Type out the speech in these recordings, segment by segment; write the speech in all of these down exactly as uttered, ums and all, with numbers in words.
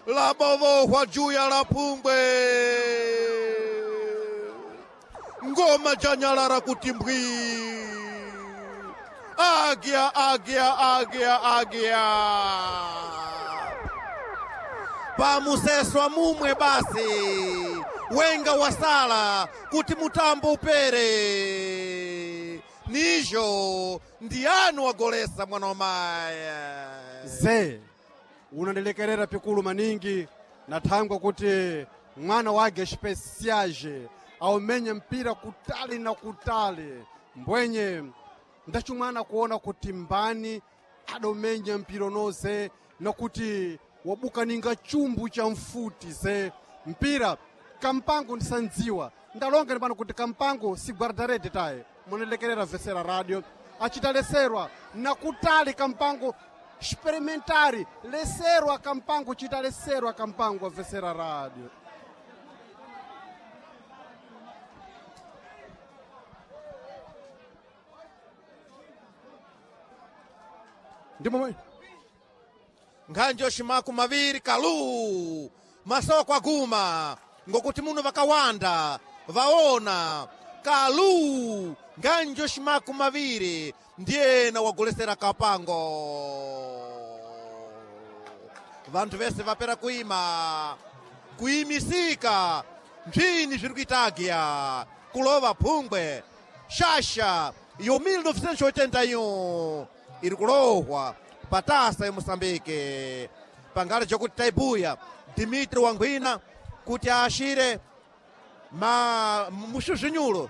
Labovohwa juu ya la pungwe. Ngoma janyalala kuti mbwi. Águia, águia, águia, águia. Pamuseswa mumwe basi wenga wasala kuti mutambo upere nizho ndiyani wagolesa mwana wa maya Ze unandilekerera pikulu maningi na thangwa kuti mwana wake especiage aumenye mpira kutali na kutali mbwenye ndachumwana kuona kuti mbani adaumenya mpira unoze nakuti wabuka ninga chumbu cha mfuti ze mpira kampango ndisandziwa ndalonga ni pano kuti kampango si guardarede taye munalekerera vesera radio achitaleserwa nakutali kampango experimentari leserwa kampango chitaleserwa kampango vesera radio ndimo nkhanjo ximaku maviri kalu masoko aguma ngokuti muno vakawanda vaona kalu nkhanjo ximaku maviri ndiyena wagolesera kapango vanthu vese vapera kuima kuimisika mbzini zviri kuita agiya kulova phungwe shasha yo mil novecentos e oitenta e um iri kulohwa patasa yemoçambique pangale jokuti taibuya dimitri wangwina kuti aashire ma muxuxunyulo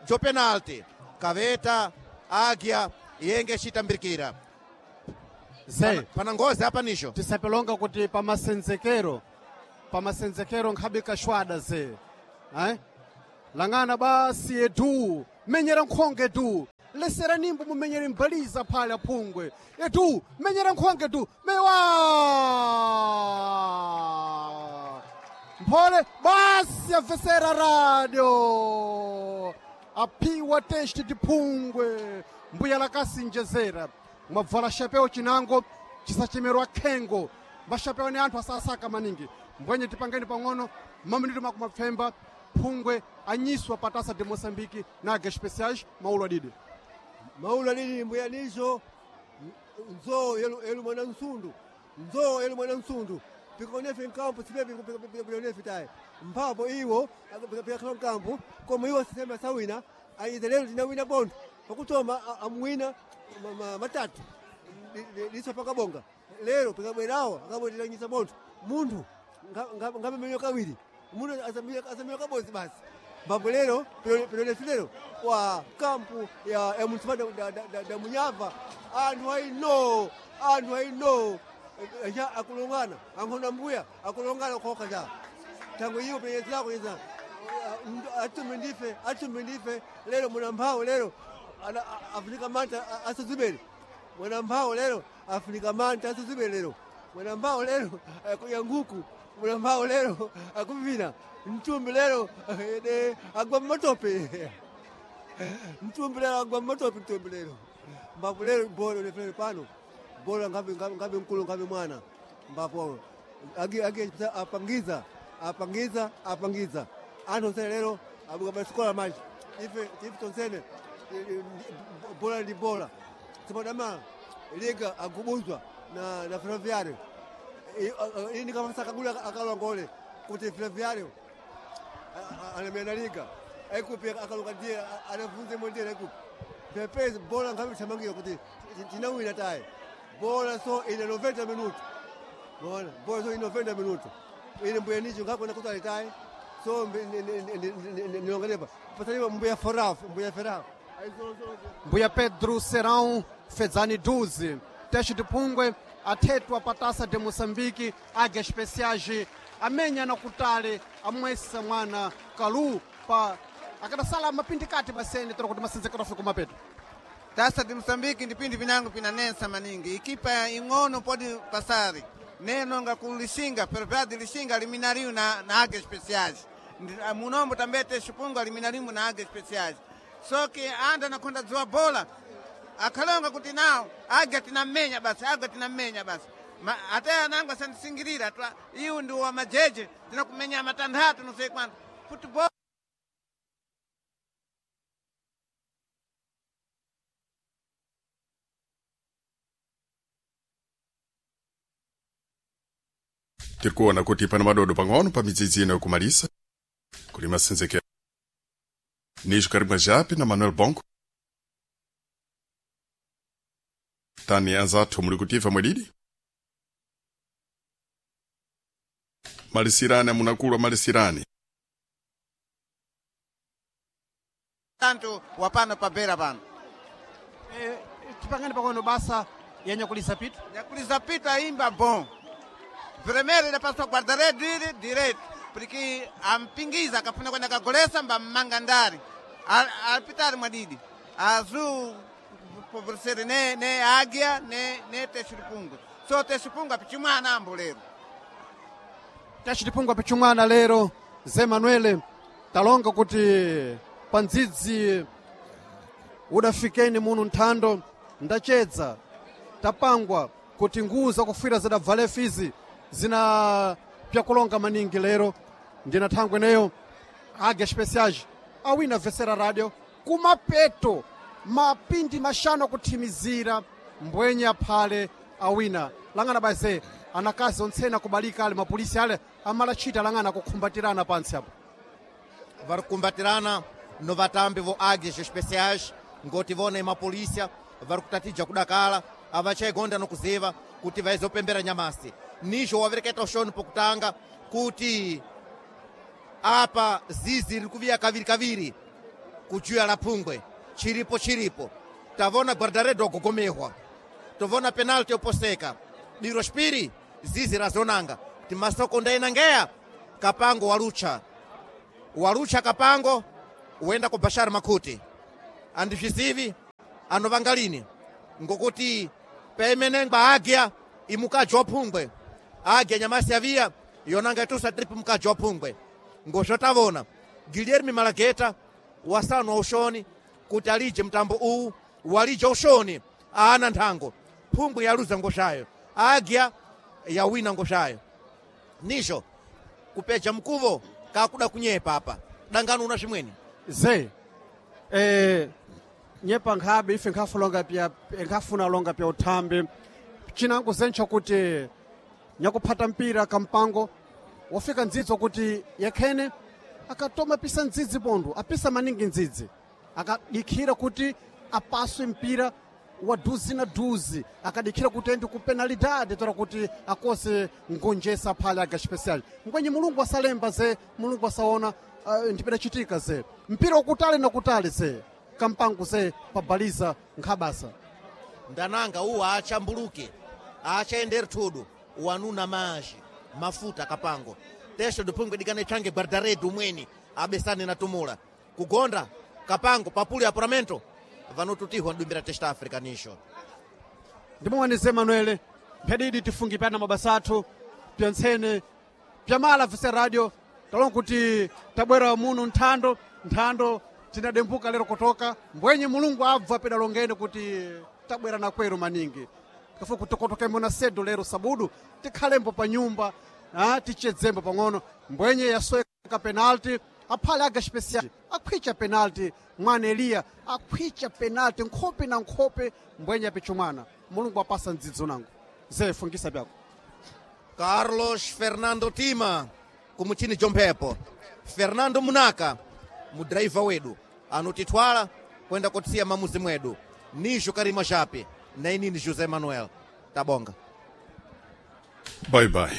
jo penalti kaveta águia yenge ecitambirikira ze pana ngozi apa nixo tisapelonga kuti pamasenzekero pamasenzekero nkhabe kashwada ze eh? lang'ana basi edu menyera nkhonge edu lesera nimbo mumenyere mbaliza phale aphungwe edu menyera nkhonge edu mewa mphole basi avesera radio aphiwa teste tiphungwe mbuya lakasinjezera mwabvala xapeo chinango chisachemerwa khengo maxapeo ni anthu asasaka maningi mbwenye tipangeni pang'ono maminito makumapfemba phungwe anyiswa patasa de moçambique na águias especiais maulo adide maulu alili mbuyanizo nzo yelu yelu mwana nsundu nzo yelu mwana nsundu pikonefe nkampu sipepi pikonefe taye mphapo iwo pikakhala nkampu koma iwo sisema sawina ayize lero tinawina bontho pakutoma amuwina matatu liso pakabonga lero pikabwerawo akabweteranyisa bontho munthu ngamenyo kawiri munthu asamiwa kabodzi basi mbambo lero piloletu lero wa kampu ya, ya munisipali da, da, da, da munyava anthu aino anthu aino ja akulongana ankhona mbuya akulongana khokha ja tango iyo penyezako yeza atume ndife atume ndife lero mwana mphawo lero afunika manta asuzibele mwana mphawo lero afunika manta asuzibele lero mwana mphawo lero akuya nguku mwana mphawo lero akuvina mtumbi lero de agwa mmatope mtumbi lero agwa mmatope mtumbi lero mbapo lero bolo lefere pano bolo ngabe ngabe mkulu ngabe mwana mbapo agi agi apangiza apangiza apangiza anthu onsene lero abuka basikola manje ife ife tonsene bola ndi bola sipadama liga agubuzwa na na ferroviário ini kama kagula akalongole kuti ferroviário alemena liga aikupi akaluka ndiye anavunze mondere aikupi pepezi bola ngabe thamangira kuti tinawina taye bola so ine noventa minuto bona bola so ine noventa minuto ine mbuya nicho ngakona kuti alitaye so nilongalepa pasaliwa mbuya foraf mbuya feraf mbuya pedro serão fedzani doze teste de phungwe athetwa patasa de moçambique águias especiais amenya na kutale amwesa mwana kalu pa akadasala mapindikati pasene tera kuti masenzekero afike kumapeto Tasa de Moçambique ndi pindi pinango pinanensa maningi ikipa ing'ono podi pasari neno nga ku Lixinga Ferroviário de Lixinga eliminariu na, na águias especiais Ndi- ah, munombo também te Chipungu eliminariu na águias especiais só que anda na conta dziwa bola akhalonga kuti nawo águia tinamenya basi águia tinamenya basi Ma, ate anangu asandisingirira twa iwu ndi wa majeje tinakumenya matanthatu não sei quanto futebol Tiri kuona kuti pana madodo pang'ono pa midzidzi ino yokumalisa kuli masenzekero nijo karimwa japi na Manuel Bongo tani anzathu muli kutiva mwedidi malisirani amunakulu amalisirani tanto wapano pabera pano Eh, tipangani pang'ono basa yanyakulisa pitu nyakuliza pito aimba bom vermelho idapaswa guarda-redes iri direito porque ampingiza akafuna kwenda kagolesa mbammanga ndari alipitari mwadidi azul favorecer ne, ne águia ne, ne texiripungo so texiripungo apichimwana ambo lero tachitipungwa pichumwana lero ze manuele talonga kuti pandzidzi udafikeni muno nthando ndachedza tapangwa kuti nguwu zakufira zidabvale fizi zina pyakulonga maningi lero ndina thangwe neyo águia especiais awina vesera radio kumapeto mapindi mashanu akuthimizira mbwenye aphale awina lang'ana baze anakazi ontsena kubalika ale mapolisi ale amalachita lang'ana akukhumbatirana pantsi apo vari kukumbatirana no vatambi vo águias especiais ngoti vona emapolisa vari kutatija kudakala avachaigonda nokuziva kuti vaizopembera nyamasi nijo wavereketa ushoni pokutanga kuti apa zizi riri kuviya kaviri kaviri kujuya la phungwe chiripo chiripo tavona guardaredo agogomehwa tovona penalti yoposeka diro xipiri zizi razonanga kuti masoko ndainangeya kapango walucha walucha kapango wenda ku bashar makhuti andizvizivi anovanga lini ngokuti paimenengwa agya imukaji wa phungwe agya nyamasi yaviya yonanga itusa trip mukaji wa phungwe ngozvotavona guilherme malageta wasanu wa ushoni kuti alije mtambo uwu walija ushoni aana nthango phungwe yaluza ngozvayo agya yawina ngozvayo nijo kupeja mkuvo kakuda kunyepa apa dangano una zvimweni ze eh, nyepa nkhabe ife nkhafulonga pya nkhafuna longa pya uthambi chinango zentsha kuti nyakuphata mpira kampango wafika ndzidzo kuti yekhene akatoma pisa ndzidzi pondo apisa maningi ndzidzi akadikhira kuti apaswe mpira wa duzi na duzi akadikhira kuti endi ku penalidade tora kuti akose ngonjesa phale aga special ngwenye mulungu asalemba ze mulungu asaona uh, ndipedachitika ze mpira wakutali na kutali ze kampango ze pabaliza nkhabasa ndananga uwu aachambuluke aachaenderi thudu wanuna mazhi mafuta kapango tesho diphungwe dikane tsange guardaredu umweni abesane na tumula kugonda kapango papuli apuramento vanotutihwa mdumbira testa africa nisho ndimowanize manuele mphedidi tifungi pyana mabasa athu pyantsene pyamala vise radio talonga kuti tabwera muno nthando nthando tinadembuka lero kutoka mbwenye mulungu abva pedalongene kuti tabwera na kwero maningi kafu kutokotokembo na sedo lero sabudu tikhalembo pa nyumba ah, tichedzembo pang'ono mbwenye yasweka penalti aphale aga special akhwicha penalti mwana eliya akhwicha penalti nkhope na nkhope mbwenye apichumwana mulungu apasa ndzidzo nango ze fungisa pyako Carlos Fernando Tima kumuchini jomphepo Fernando Munaka mudraiva wedu anotitwala kwenda kotsiya mamuzi mwedu nijo Karima Jape na inini José Manuel tabonga bye bye.